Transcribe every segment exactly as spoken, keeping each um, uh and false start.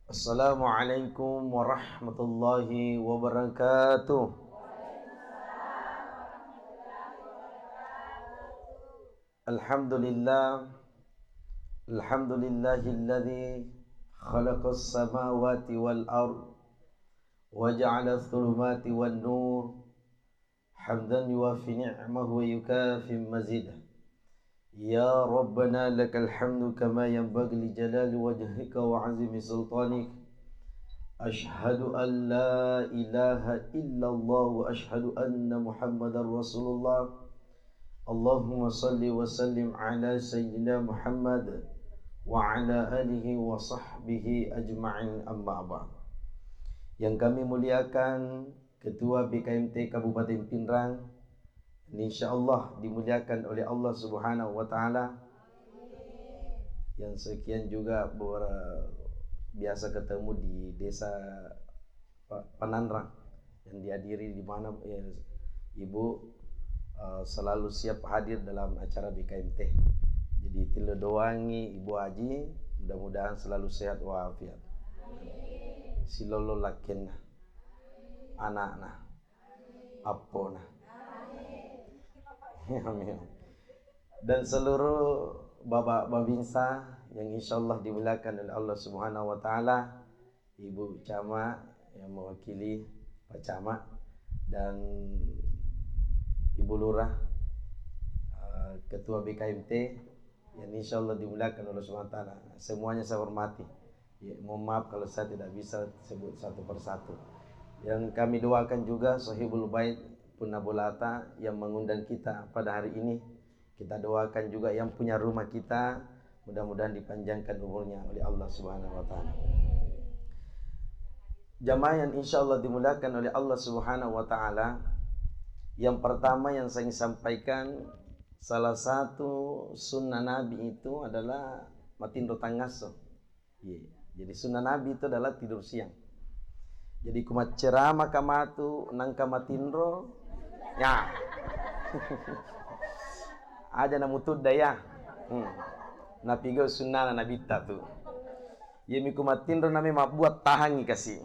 Assalamualaikum warahmatullahi wabarakatuh. Alhamdulillah. Alhamdulillahilladzi khalaqas samawati wal ard wa ja'ala dhulumati wan nur. Hamdan yuwafi ni'mahu wa yukafi mazidah. Ya Rabbana lakal hamdu kama yanbaghi li jalali wajhika wa azimi sultanik. Ashhadu an la ilaha illallah wa ashhadu anna Muhammadar Rasulullah. Allahumma salli wa sallim ala sayyidina Muhammad wa ala alihi wa sahbihi ajma'in, amma ba'd. Yang kami muliakan Ketua B K M T Kabupaten Pinrang, ini insya Allah dimuliakan oleh Allah Subhanahu wa Ta'ala. Yang sekian juga ber- biasa ketemu di desa Pa- Pananrang yang dihadiri, di mana, eh, Ibu, eh, selalu siap hadir dalam acara B K M T. Jadi, tilo doangi Ibu Haji, mudah-mudahan selalu sehat walafiat. Silolo lakkenna, anakna, appona. Amin. Dan seluruh Bapak Babinsa yang insya Allah dimuliakan oleh Allah Subhanahu wa Ta'ala, Ibu Camat yang mewakili Pak Camat, dan Ibu Lurah, eh, Ketua B K M T yang insya Allah dimuliakan Allah Subhanahu wa Ta'ala. Semuanya saya hormati. Ya, mohon maaf kalau saya tidak bisa sebut satu persatu. Yang kami doakan juga Sohibul Bait Punna Bolata yang mengundang kita pada hari ini. Kita doakan juga yang punya rumah kita, mudah-mudahan dipanjangkan umurnya oleh Allah Subhanahu wa Ta'ala. Jamaah yang insya Allah dimuliakan oleh Allah Subhanahu wa Ta'ala, yang pertama yang saya ingin sampaikan, salah satu sunnah Nabi itu adalah matinro tangasso. Iya. Jadi sunnah Nabi itu adalah tidur siang. Jadi ku macceramaka matu nangka matinro, ya. Aja namutudda ya. Hmm. Napigau sunnana Nabitta tu. Iya, mi ku matinro nami mabbuat, tahangi kasi.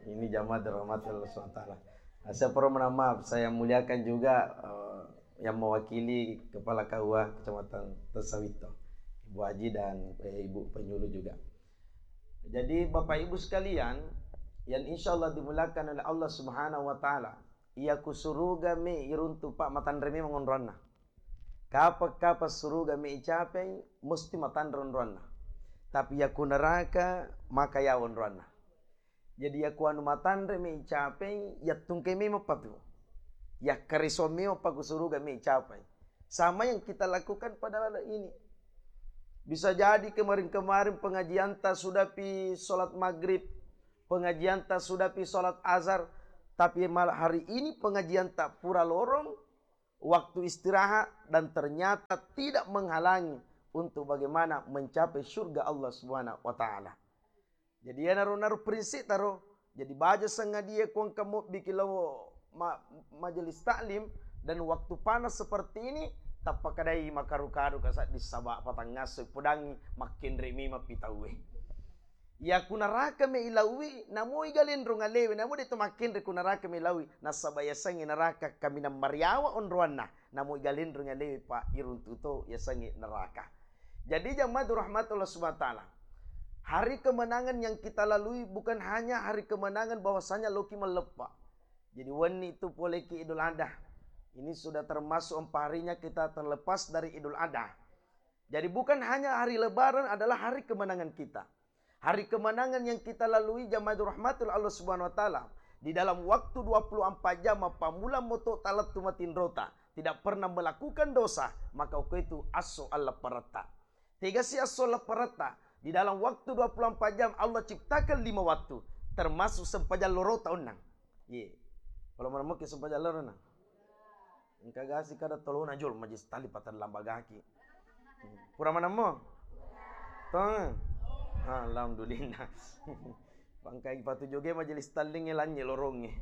Ini jamaah dirahmati Allah Subhanahu wa Ta'ala. Nah, saya perlu mohon maaf, saya muliakan juga, eh, yang mewakili Kepala K U A Kecamatan Tessawitto, Ibu Haji dan, eh, Ibu Penyuluh juga. Jadi, Bapak Ibu sekalian yang insya Allah dimuliakan oleh Allah Subhanahu wa Ta'ala, iya ku suruga mi iruntu, Pak, matanre memang onroanna. Kapa-kapa suruga mi icapai, mesti matanre onroanna. Tapi iya ku neraka, maka yawa onroanna. Jadi, iya ku anu matanre mi icapai, yattungke memang patu. Yakkareso memang pa ku suruga mi icapai. Sama yang kita lakukan pada malam ini. Bisa jadi kemarin-kemarin pengajianta sudah pi sholat maghrib, pengajianta sudah pi sholat azhar, tapi malam hari ini pengajianta pura lorong waktu istirahat dan ternyata tidak menghalangi untuk bagaimana mencapai surga Allah Subhanahu wa Ta'ala. Jadi, iyanaro, naro prinsip taro. Jadi, baja sengadia ku engka mobbiki lao ma-, majelis taklim, dan waktu panas seperti ini, tappakadai makaru-karu kasaddi, saba patangngasso podangi makkenre memang pi tauwe. Iya ku neraka me ilaui, namoi galenrong alewe, namo de to makkenre ku neraka me ilaui, nasaba yasengnge neraka kaminang mariawa onroanna. Namo igalenreng alewe, Pak, iruntu to yasengnge neraka. Jadi, jamaah dirahmati Allah Subhanahu wa Ta'ala, hari kemenangan yang kita lalui bukan hanya hari kemenangan bahwasanya loki malleppa. Jadi, wenni itu poleki Idul Adha. Ini sudah termasuk empat harinya kita terlepas dari Idul Adha. Jadi, bukan hanya hari Lebaran adalah hari kemenangan kita. Hari kemenangan yang kita lalui, jamaah dirahmati Allah Subhanahu wa Ta'ala, di dalam waktu dua puluh empat jam, mappammula moto talettu matinrota, tidak pernah melakukan dosa, maka uko itu asso Allah paretta. Tegasi asso Allah paretta, di dalam waktu dua puluh empat jam Allah ciptakan lima waktu, termasuk sempajang lorota onnang. Ye. Kalau menemukan sempajang lorona. Engka gasi kada tolona jolo majelis taklim patellambagaki. Pura manammo? Tong? Alhamdulillah. Pangkai patu joge majelis taklim lanye lorongnge.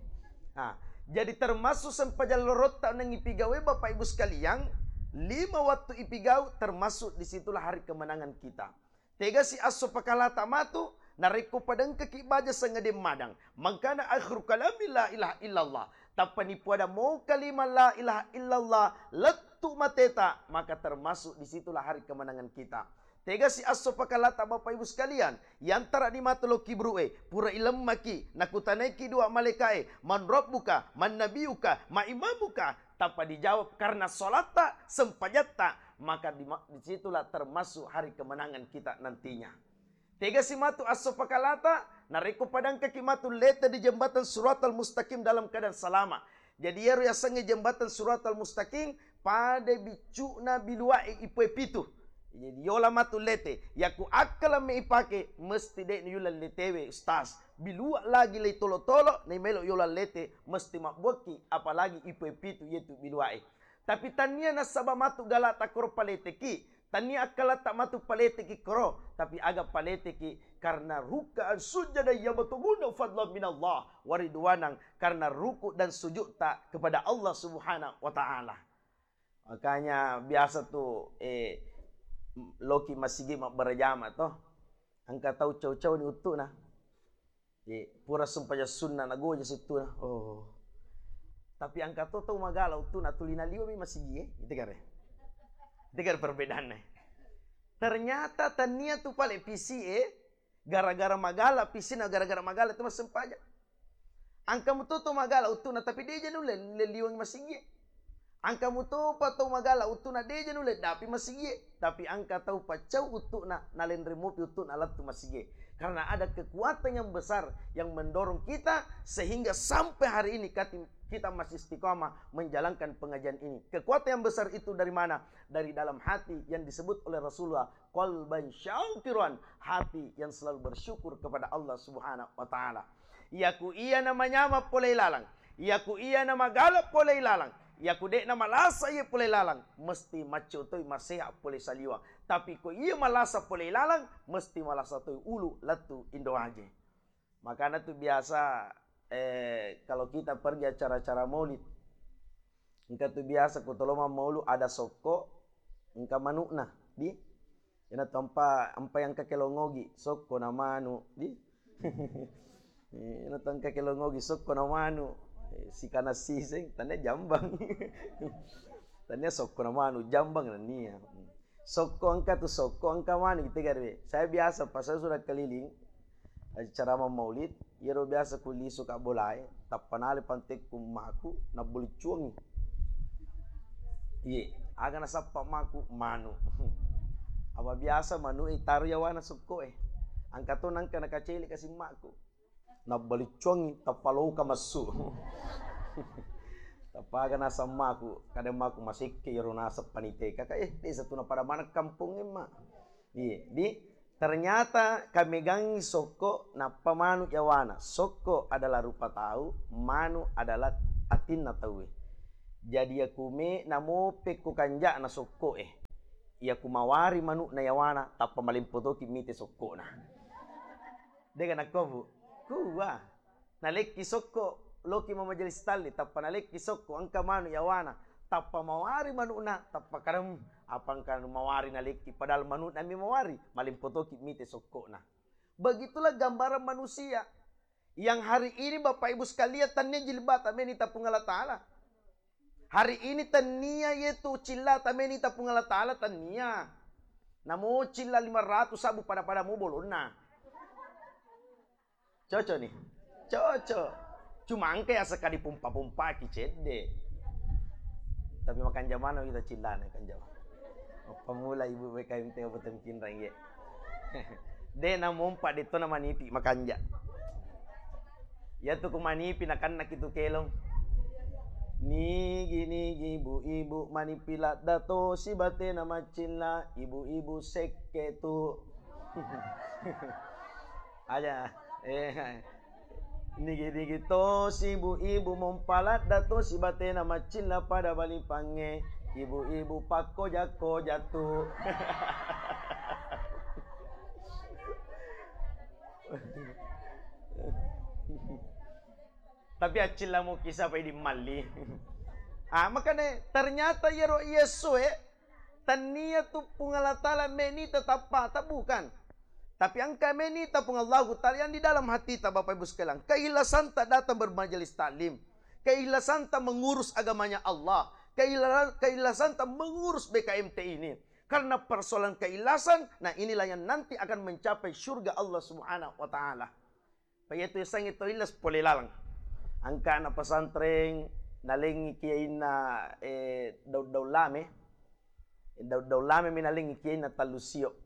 Ah, jadi termasuk sempajang lorotta nang ipigawe, Bapak Ibu sekalian, lima waktu ipigau, termasuk disitulah hari kemenangan kita. Tegasi asso pakalata matu, Narekko padengkaki baja sangedeng madang, mangkana akhiru kalami la ilaha illallah, tappa nipuada mo kalima la ilaha illallah, lettu mateta, maka termasuk di situlah hari kemenangan kita. Tegasi esso pakalata, Bapak Ibu sekalian, yantara di matu lo kibru'e, pura ilemmaki, nakutanaiki dua malaika'e, "Man rabbuka, man nabiyuka, ma imamuka?" Tappa dijawab, "Karena sholatta, sempajatta," maka di, di situlah termasuk hari kemenangan kita nantinya. Tegasi matu esso pakalata, narekko padangkaki matu lete di jembatan Siratal Mustaqim dalam keadaan salama. Jadi, iyaro yasengnge jembatan Siratal Mustaqim, pada biccu'na bilua'e ipoe pitu. Jadi, yola matu lete, yaku akkala me ipake, mesti de' nuyulang letewe, Ustaz. Bilua lagi lei tolo-tolo, nai melo yola lete, mesti mabbuakki, apalagi ipoe pitu yetu bilua'e. Tapi tania nasaba matu galata koro paleteki, tania akkalatta matu paleteki koro, tapi aga paleteki karena rukkaan sujjadan yabtaguna fadlan minallah wa ridwanan, karena ruku dan sujudta kepada Allah Subhanahu wa Ta'ala. Makanya biasa tu, eh, loki masigi mabbarajama to, engka tau cau-cau ni uttuna. Eh, pura sempajang sunna, nagoja sittuna. Oh. Tapi engka to tau magala uttuna tuli naliwa mi masigi e. Itu kare. Itu kare perbedaannya. Ternyata tania tu pale pisi e, gara-gara magala pisi na, gara-gara magala tu massempajang. Engka muto to magala uttuna tapi deja nulle liwang masigi e. Engka mutopa tau magala uttuna deja nulle dapi masigie, tapi engka tau paccau uttu'na, nalenre mopi uttu'na lettu masigie. Karena ada kekuatan yang besar yang mendorong kita sehingga sampai hari ini kati-, kita masih istiqamah menjalankan pengajian ini. Kekuatan yang besar itu dari mana? Dari dalam hati yang disebut oleh Rasulullah, qalban syakiran, hati yang selalu bersyukur kepada Allah Subhanahu wa Ta'ala. Iyaku iya namanyama pole ilalang, iyaku iya namagala pole ilalang, iyaku de'na malasa iye pole ilalang, mesti macco toi maseha pole saliwang. Tapi ko iya malasa pole ilalang, mesti malasa toi ulu lettu indo aje. Makana tu biasa, eh, kalau kita pergi acara-acara maulid, engka tu biasa ko tolo mammaulu ada sokko, engka manu'na, di? Ina tu ampa, ampa yang engka kelongogi, sokko na manu, di? Ina tu engka kelongogi, sokko na manu, eh, sikana siseng, tania jambang. Tania sokko na manu, jambang nania. Sokko engka tu sokko, engka manu kita garwe. Saya biasa pas saya sudah keliling, acara mammaulid, iyaro biasa ku lisu ka bolae, tappa nale pantekku emmaku, nabboliccuangi. Iye, aga nasappa emmaku? Manu. Apa biasa manu e taro yawana sokko e. Engka to nangka nakacele kasi emmaku. Nabbaliccuangi, tappa loka massu. Tappa aga naseng emmaku, kada emmaku masekke iyaro naseng paniteka ka, eh, desa tu napada maneng kampong emma. Iye, di, ternyata kamegangi sokko nappa manu yawana. Sokko adalah rupa tau, manu adalah atinna tauwe. Jadi yaku me namope ko kanja'na sokko e. Yaku mawari manu'na yawana, tappa malempo toki mite sokkona. Dega nakko, Bu? Kuwa. Nalekki sokko, loki mamajelis talli, tappa nalekki sokko, engka manu yawana, tappa mawari manu'na, tappa karem, apa engka mawari nalekki, padahal manu'na mi mawari, malempo toki mite sokkona. Begitulah gambaran manusia yang hari ini, Bapak Ibu sekalian, tania jilbata meni tapung Allah Ta'ala. Hari ini tania yetu cillata meni tapung Allah Ta'ala, tania. Namo cilla lima ratus sabu pada-pada mu bolonna. Cocok nih. Cocok. Cuma engka ya sekali pompa-pompaki cedde. Tapi makan jamana kita cillana kan jama. Apa mula ibu B K M T apa temkin rangge. De namompa de to namanipi makanja. Yatu ku manipi nakannaki tu kelong. Nigi-nigi ibu-ibu manipi ladda to sibatena maccilla, ibu-ibu sekke tu. Aja, eh, nigi-nigi tosi ibu-ibu mompa ladda tosi batena maccilla pada balipangnge, ibu-ibu pakkoja-koja tu. Tapi accilla mo kisah pai di malli. Ah, makanya ternyata iyaro Yesu e, tania tu Puang Allah Ta'ala meni tetappa, bukan. Tapi engka menita Puang Allahu Ta'ala yang di dalam hatita, Bapak Ibu sekalian. Keikhlasan tak datang bermajelis taklim. Keikhlasan tak mengurus agamanya Allah. Keikhlasan, keikhlasan tak mengurus B K M T ini. Karena persoalan keikhlasan, nah, inilah yang nanti akan mencapai surga Allah Subhanahu wa Ta'ala. Paiya tu yasengnge to illas pole laleng. Engka anak pesantren nalengngi kiyainna, eh, daun-daun lame. Daun-daun lame mi nalengngi kiyainna tallu sio.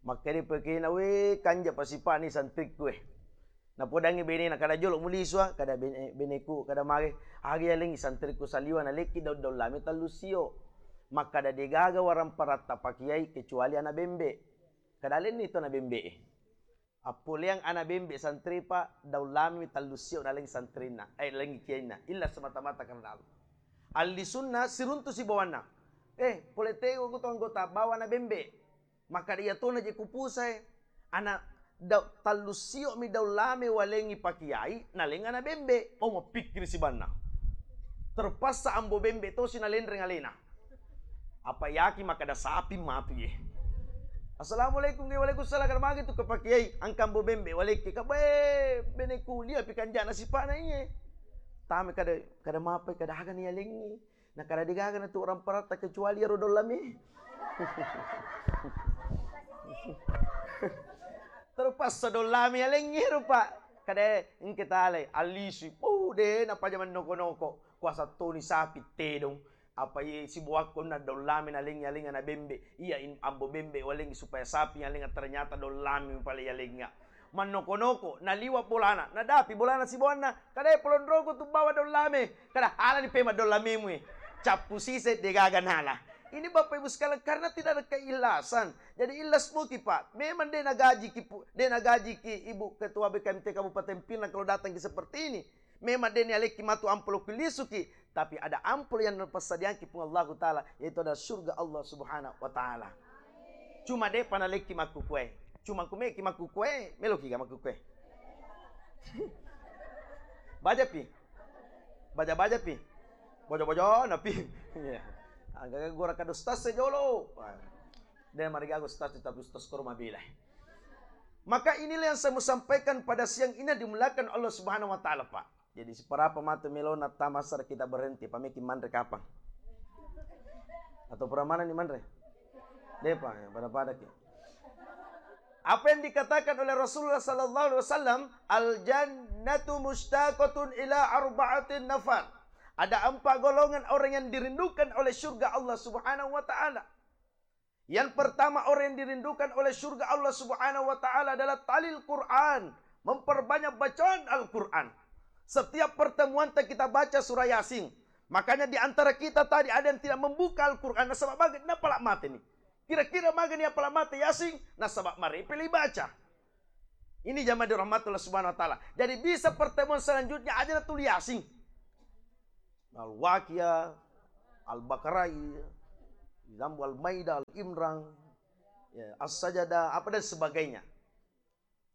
Makkeda pa kiyainna, "We, kanja pasipani santrikku, eh." Napodangngi benena, "Kada jolo mulisua, kada bene-, beneku, kada mage." "Aga yalengngi santrikku saliwa nalekki daun-daun lame tallu sio." Makkada, "Degaga waramparatta pakiyai kecuali ana bembe." Kada alenni to ana bembe e. Appoleang ana bembe santripa, daun lame mi tallu sio naleng santrinna, eh, lengngi kiyainna. Illa semata-mata karena Allah. Allisunna siruntu sibawanna. Eh, pole tego ko to anggota bawa ana bembe. Makkada, "Iya tona je kupusae." Ana da-, tallu sio mi daun lame walengngi pakiyai, naleng ana bembe. Oh, mapikkiri sibanna. Terpaksa ambo bembe tosi nalenreng alena. Apa yaki makkada sapi matu ye. "Assalamualaikum." "Waalaikumsalam." "Kada magi tu kepakiai?" "Engka ambo bembe walekki." "Kabae, bene kulia pi kanjana sipana iye." Tame kada, kada mapai, kada aga ni yalengngi. Na kada degaga na tu orang paratta kecuali ero daun lame. Terpaksa daun lame yalengngi rupa. Kada engke talai, allisui. Oh, de napaja mannoko-noko. Kuasa toni sapi tedong. Apa ye sibuakko na daun lame nalengngi alengnga na bembe. Iya in-, ambo bembe walengngi supaya sapi yalengnga, ternyata daun lame pale yalengnga. Mannoko-noko, naliwa bolana, nadapi bolana sibawanna, kada polonroko tu bawa daun lame, kada halani pema daun lamemu e. Cappu sise degaga nala. Ini Bapak Ibu sekalian, karena tidak ada keikhlasan. Jadi ikhlas muki, Pak. Memang de nagajiki, Pu-, de nagajiki Ibu Ketua B K M T Kabupaten Pinang kalau datang ki seperti ini. Memang de nialekki matu amplop lisuki, tapi ada amplop yang persediaanki Puang Allahu Ta'ala, yaitu adalah surga Allah Subhanahu wa Ta'ala. Cuma depa nalekki makkukue. Cuma kumeki makkukue, meloki ga makkukue? Bajapi? Baja-bajapi? Bojo-bojo napi. Iya. Aga gora kada ustaz sejolo. De marigaga ustaz, tapi ustaz koro mabela. Maka inilah yang saya mau sampaikan pada siang ini yang dimuliakan Allah Subhanahu wa Ta'ala, Pak. Jadi, seberapa matu melona tamasar kita berhenti, pameki manre kapang? Atau pura mana ni manre? Depa, ya, pada-pada ki. Apa yang dikatakan oleh Rasulullah sallallahu alaihi wasallam, "Al jannatu mustaqatun ila arba'atin nafar." Ada empat golongan orang yang dirindukan oleh surga Allah Subhanahu wa Ta'ala. Yang pertama, orang yang dirindukan oleh surga Allah Subhanahu wa Ta'ala adalah talil Quran, memperbanyak bacaan Al-Quran. Setiap pertemuan te kita baca surah Yasin. Makanya di antara kita tadi ada yang tidak membuka Al-Quran, nasaba baga napala mate ni. Kira-kira maga ni apala mate Yasin, nasaba marepe le baca. Ini jamaah dirahmati Allah Subhanahu wa Ta'ala. Jadi bisa pertemuan selanjutnya aja na tuli Yasin. Al-Waqiah, Al-Baqarah, Zambu Al-Maidah, Al-Imran, ya, As-Sajadah, apa dan sebagainya.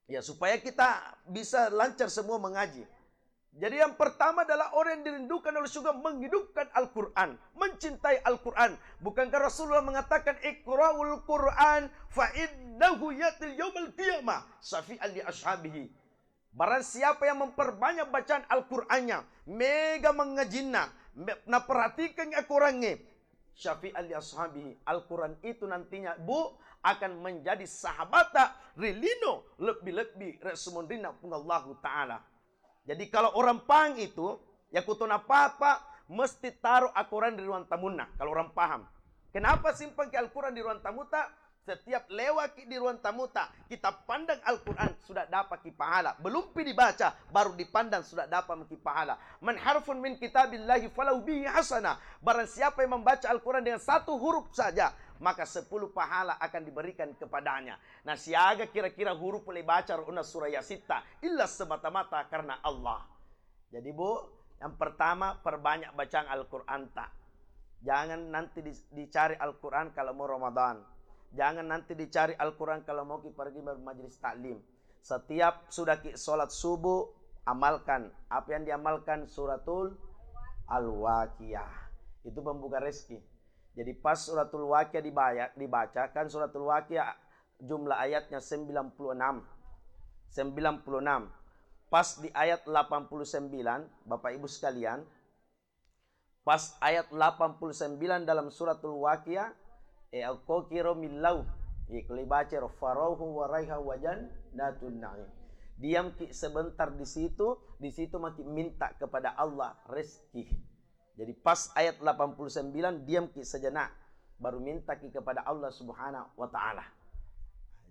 Ya, supaya kita bisa lancar semua mengaji. Jadi yang pertama adalah orang yang dirindukan oleh surga menghidupkan Al-Quran, mencintai Al-Quran. Bukankah Rasulullah mengatakan, "Iqra'ul Quran fa innahu yatil yaumal qiyamah syafi'an li ashabihi." Barang siapa yang memperbanyak bacaan Al-Qur'annya, mega mengajinna, me-, naperhatikan Al-Qur'annya, syafi'an li ashabihi, Al-Qur'an itu nantinya, Bu, akan menjadi sahabata ri lino lebbi-lebbi ri sumunrinna Puang Allahu Ta'ala. Jadi kalau orang paham itu, ya kutona papa mesti taruh Al-Qur'an di ruang tamunna. Kalau orang paham, kenapa simpang ke Al-Qur'an di ruang tamuta? Setiap lewat ki di ruang tamuta, kita pandang Al-Quran, sudah dapat ki pahala. Belum pi dibaca, baru dipandang, sudah dapat ki pahala. "Man harfun min kitabillahi falahu bihi hasanah." Barang siapa yang membaca Al-Quran dengan satu huruf saja, maka sepuluh pahala akan diberikan kepadanya. Nah, siaga kira-kira huruf le baca ro na surah Yasin ta, illa semata-mata karena Allah. Jadi, Bu, yang pertama, perbanyak bacaan Al-Quran ta. Jangan nanti di-, dicari Al-Quran kalau mau Ramadan. Jangan nanti dicari Al-Quran kalau mau ki pergi ber-, majelis taklim. Setiap sudah ki sholat subuh, amalkan. Apa yang diamalkan? Suratul Al-Waqiah. Itu pembuka rezeki. Jadi pas Suratul Waqiah dibaya-, dibacakan Suratul Waqiah, Jumlah ayatnya sembilan puluh enam. Sembilan puluh enam. Pas di ayat delapan puluh sembilan, Bapak Ibu sekalian, pas ayat delapan puluh sembilan dalam suratul Waqiah, e, akkokiro millau. Ye, kalau dibaca ro, "Farauhu wa raiha wa jannatun na'im." Diamki sebentar di situ, di situ maki minta kepada Allah rezeki. Jadi pas ayat delapan puluh sembilan, diamki sejenak, baru mintaki kepada Allah Subhanahu wa Ta'ala.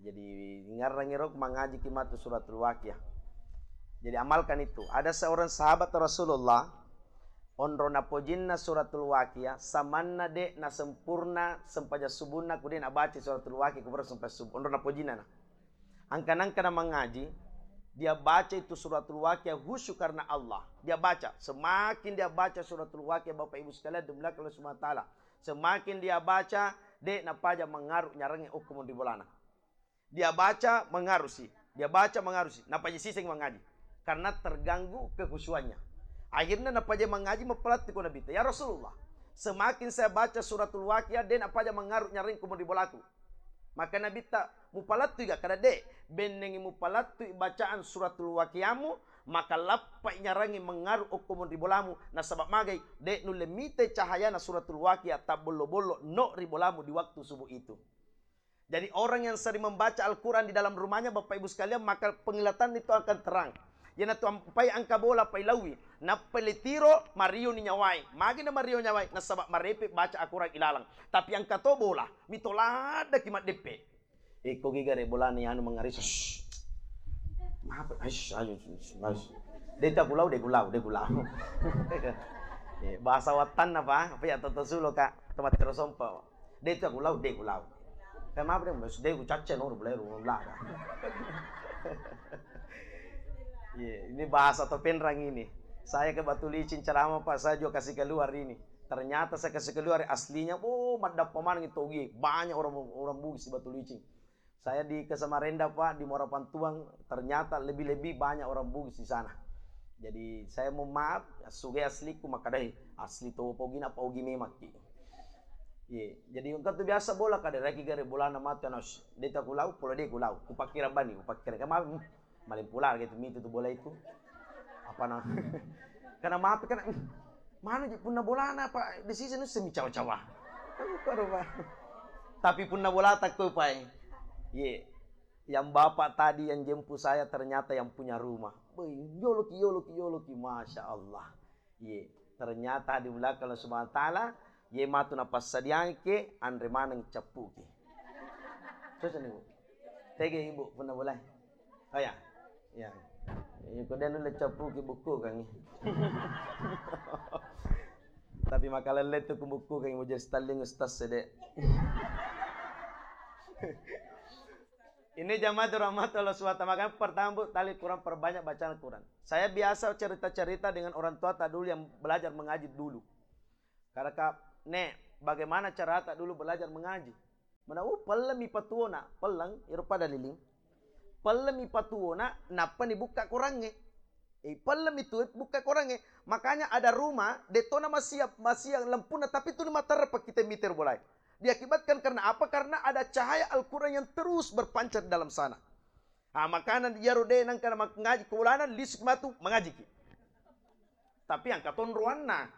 Jadi ngarrangi ro mangajiki matu suratul Waqiah. Jadi amalkan itu. Ada seorang sahabat Rasulullah, onro napojinna suratul Waqiah, samanna de' nasempurna sempajang subunna ku de' nabaca suratul Waqiah ku baru sempajang subuh. Onro napojinna na. Angka-angka na mangaji, dia baca itu suratul Waqiah khusyuk karena Allah. Dia baca, semakin dia baca suratul Waqiah, Bapak Ibu sekalian, dimuliakan oleh Subhanahu wa Ta'ala, semakin dia baca, de' napaja mangaru nyarangi okko monri bolana. Dia baca, mangarusi. Dia baca, mangarusi. Napaja siseng mangaji. Karena terganggu kekhusyuannya. Akhirnya napaja mangaji, mapalattu ko Nabitta, "Ya Rasulullah, semakin saya baca suratul Waqiah, de' napaja mangaru nyarangi ko monri bolaku." Maka Nabitta, "Mupalattui ga?" Kada, "De'." "Bennengi mupalattui bacaan suratul Waqiahmu, maka lappai nyarangi mangaru okko monri bolamu, nasaba magai de' nulle mitai cahayana suratul Waqiah tabbollo-bollo no ri bolamu di waktu subuh itu." Jadi orang yang sering membaca Al-Quran di dalam rumahnya, Bapak Ibu sekalian, maka penglihatan itu akan terang. Iyanatu ampai angka bola pailauwi, nappa letiro, marioni nyawai. Magi na mario nyawai? Nasaba marepe baca Al-Quran ilalang. Tapi angka to bola, mito laddaki maddeppe. Iko giga re bolana anu mangaris. Shh. Maaf, aish, aish, aish. De' tu aku lau, de' ku lau, de' ku lau. Eh, bahasa wattanna pa, apa ya, toto sulo ka, tempat terosompa. De' tu aku lau, de' ku lau. Kayak maaf deh, mas, de' ku cacce no, boleh lu lah. Iya, ini bahasa Topenrang ini. Saya ke Batu Licin ceramah, Pak, saya juga kasih keluar ini. Ternyata saya kasih keluar aslinya, oh, maddappa maneng itu, ogi. Banyak orang, orang Bugis di Batu Licin. Saya di ke Samarinda, Pak, di Muara Pantuang, ternyata lebih-lebih banyak orang Bugis di sana. Jadi saya mohon maaf, suge asliku makadai, asli to pogina, apa ogi memang ki. Iya, jadi engka tu biasa bola kada raki gare bolana matu, anak, de' tu aku lau, polo de' ku lau, kupakira bani, kupakira kama, hmm, maling pular gitu, mitu tu bola itu. Apa na? Karena maaf, karena, hmm, mana ji punna bolana, Pak, di sisi nu semi cawa-cawa. Tapi punna bola takko, Pak, eh. Iya. Yang bapak tadi yang jemput saya ternyata yang punya rumah. Woi, yoloki, yoloki, yoloki, Masya Allah. Ye, ternyata di belakang Allah Subhanahu wa Ta'ala, ye matu napassadiangke, anre maneng cappuki. Cocok nih, Bu. Tege Ibu, pernah boleh? Oh ya. Ya. Iya, ko dia nulle cappuki buku kan. Tapi makalelle tu ku buku kan, mau jadi styling ustaz sedek. Ini jamaah dirahmati Allah Subhanahu wa Ta'ala. Makanya pertama, Bu, tali Quran, perbanyak bacaan Quran. Saya biasa cerita-cerita dengan orang tua tak dulu yang belajar mengaji dulu. Karena, "Nek, bagaimana cara tak dulu belajar mengaji?" Mana, "Oh, pelleng mi patuona." Pelleng, iro pada liling. Pelleng mi patuona, nappa ni bukka Qurangnge. Eh, pelleng mi tu bukka Qurangnge. Makanya ada rumah, detona masia, masia lempuna, tapi tu ni matarpa kita miter bolai. Diakibatkan karena apa? Karena ada cahaya Al-Quran yang terus berpancar di dalam sana. Ah, makana iyaro de nangka mangaji ko bolana, lisik matu mangajiki. Tapi angka tonroanna.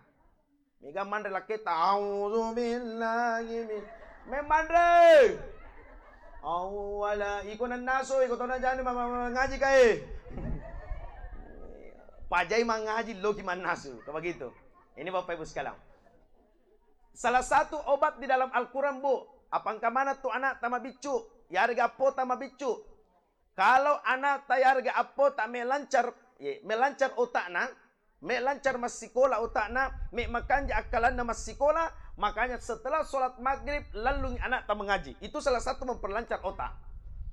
Mega manre lakketa, "A'udzubillahi min-," me manre. Awwala, iko nannasu, iko tona jani ma-, ma-, mangaji kae. Pajai mangaji, loki mannasu. Kayak begitu. Ini Bapak Ibu sekalian. Salah satu obat di dalam Al-Quran, Bu, apangka mana tu anak tama biccu, yarega appo tama biccu. Kalau anak ta yarega appo ta me lancar, ye, me lancar otakna, me lancar massikola otakna, me makanja akkalanna massikola, makanya setelah sholat maghrib, lallungi anak ta mengaji. Itu salah satu memperlancar otak.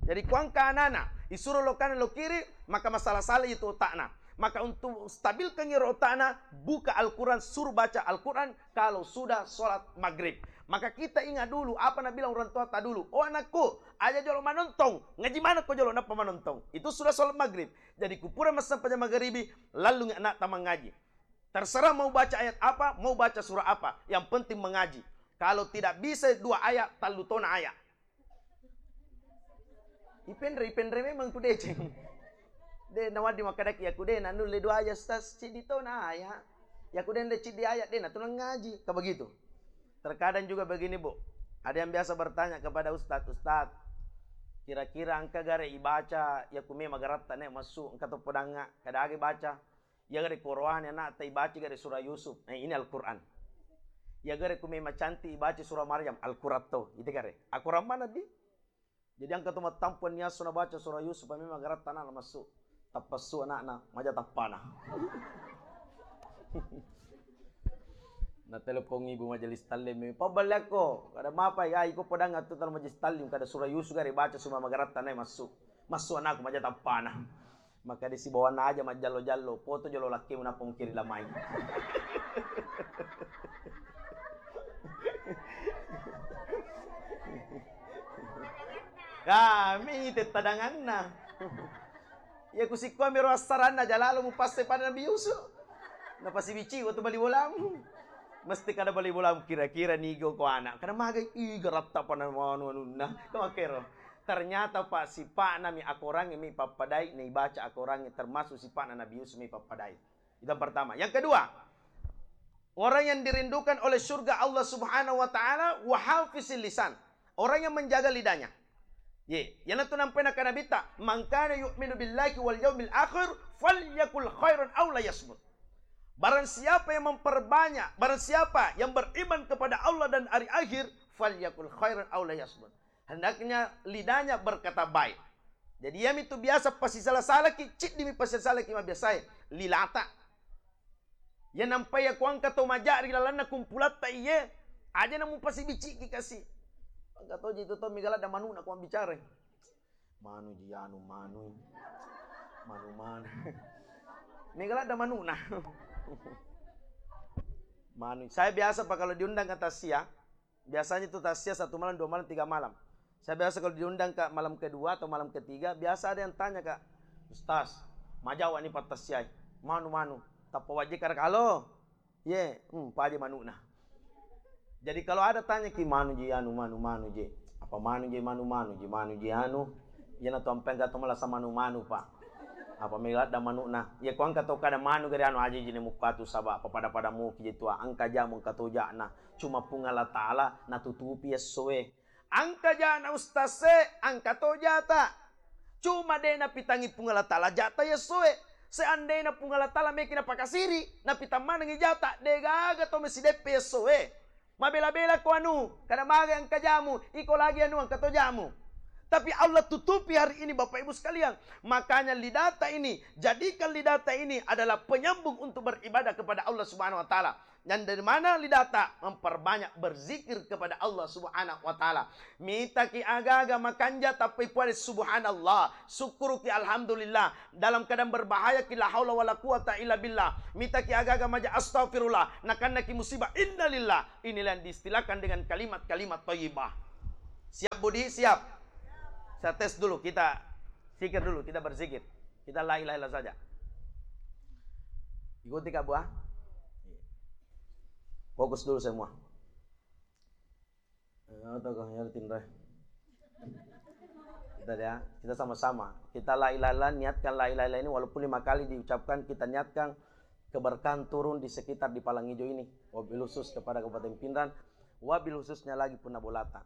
Jadi, kuangka anana, isuro lokana lo kiri, maka masalah-salah itu otakna. Maka untuk stabilkan iro otakna, buka Al-Quran, suruh baca Al-Quran kalau sudah sholat maghrib. Maka kita ingat dulu apa nabilang orang tua ta dulu. "Oh anakku, aja jolo manontong, ngaji mana ko jolo nappa manontong." Itu sudah sholat maghrib. Jadi kupura massempajang magharibi, lalu anak ta mangaji. Terserah mau baca ayat apa, mau baca surah apa, yang penting mengaji. Kalau tidak bisa dua ayat, tallu tona ayat. Ipenre, ipenre memang tu deceng. De nawaddi makkadaki, yaku de nanulle dua ayat, Ustaz, ciddi to na ayat. Yaku de nde ciddi ayat, de natu nangaji. Ka begitu. Terkadang juga begini, Bu. Ada yang biasa bertanya kepada ustaz, "Ustaz, kira-kira engka gare ibaca yaku me magaratta ne massu, engka to podangnga, kada age baca?" Ya gare Qur'an anak ta ibaca gare surah Yusuf. Eh, ini Al-Quran. Ya gare ku me macanti ibaca surah Maryam, Al-Quran to. Itu gare. Al-Quran mana di? Jadi engka to mattampuang niasso nabaca surah Yusuf, memang garatta anak massu. Tappassu anakna, maja tappana. Na telepon ibu majelis taklim, "Pabballe akko, kada mapa ya, iko podang atu talo majelis taklim, kada surah Yusuf gare baca suma magaratta nai massu. Massu anakku maja tappana." Maka di sibawanna aja majjallo-jallo, foto jolo lakkemu nappa mukiri lamai. Kami tettadanganna. Ya kusikkoa mero assaranna jalalo mupasse pada Nabi Yusuf. Napasibici waktu bali bolamu. Mesti kada bali bolamu kira-kira nigo ko anak. Kada magai, ih, garatta pana manu anunna. Kamakero. Ternyata, Pak, sipa'na mi akorangnge mi pappadai, naibaca akorangnge termasuk sipa'na Nabi Yusuf mi pappadai. Itu yang pertama. Yang kedua, orang yang dirindukan oleh surga Allah Subhanahu wa Ta'ala, wa hafizil lisan. Orang yang menjaga lidahnya. Ye, yana tu nampai nakana Nabitta, "Man kana yu'minu billahi wal yaumil akhir, falyakul khairan aw liyasmut." Barang siapa yang memperbanyak, barang siapa yang beriman kepada Allah dan hari akhir, falyakul khairan aw liyasmut. Hendaknya lidahnya berkata baik. Jadi, iyami tu biasa pasisala-salaki, ciddimi pasisala-salaki mabiasae, lilata. Iya nampai iya kuangka to maja ri lalanna kumpulatta iye, aja na mupasibiciki kasi. Engka toji tu to mega ladda manu'na ko mabbicarai. Manu ji anu, manu. Manu, manu. Mega ladda manu'na. Manu. Saya biasa, Pak, kalau diundang ke tasya, biasanya itu tasya satu malam, dua malam, tiga malam. Saya biasa kalau diundang, Kak, malam kedua atau malam ketiga, biasa ada yang tanya, Kak, "Ustaz, majawa ni pattasyai. Manu, manu. Tappa wajib kada kalo?" Ye, hmm, paje manu'na. Jadi kalau ada tanya ki, "Manu ji anu, manu, manu je. Apa manu je, manu, manu je, manu je anu?" Iyana tu ampe engka to malasa manu-manu, Pak. Apa mega ladda manu'na. Iya ko engka to kada manu gare anu aja ji ne mukka tu saba apa pada-pada muki je tua. Engka jamu engka to ja'na. Cuma Puang Allah Ta'ala natutupi essoe. Engka ja'na ustaz e, engka to jata. Cuma de napitangi Puang Allah Ta'ala jata essoe. Seandainya Puang Allah Ta'ala meki napakasiri, napitang manengi jata, de gaga to mesideppe essoe. Mabela-bela ko anu, kada maga engka jamu, iko lagi anu engka to jamu. Tapi Allah tutupi hari ini, Bapak Ibu sekalian. Makanya lidata ini, jadikan lidata ini adalah penyambung untuk beribadah kepada Allah Subhanahu wa Ta'ala. Dan dari mana lidata? Memperbanyak berzikir kepada Allah Subhanahu wa Ta'ala. Mitaki agaga makanja tappai puade subhanallah, sukkuruki alhamdulillah. Dalam keadaan berbahaya ki la haula wala quwata illa billah. Mitaki agaga maja astaghfirullah. Nakannaki musibah innalillah. Inilah yang diistilahkan dengan kalimat-kalimat thayyibah. Siap, Budi? Siap? Saya tes dulu, kita zikir dulu, kita berzikir. Kita la ilaha illallah saja. Ikuti, Kak, Bu, ah. Fokus dulu semua. Eh, atau kau yang tinrai. Kita ya, kita sama-sama. Kita la ilaha illallah, niatkan la ilaha illallah ini walaupun lima kali diucapkan, kita niatkan keberkahan turun di sekitar di Palang Hijau ini. Wabil khusus kepada Kabupaten Pinrang, wabil khususnya lagi Punna Bolata.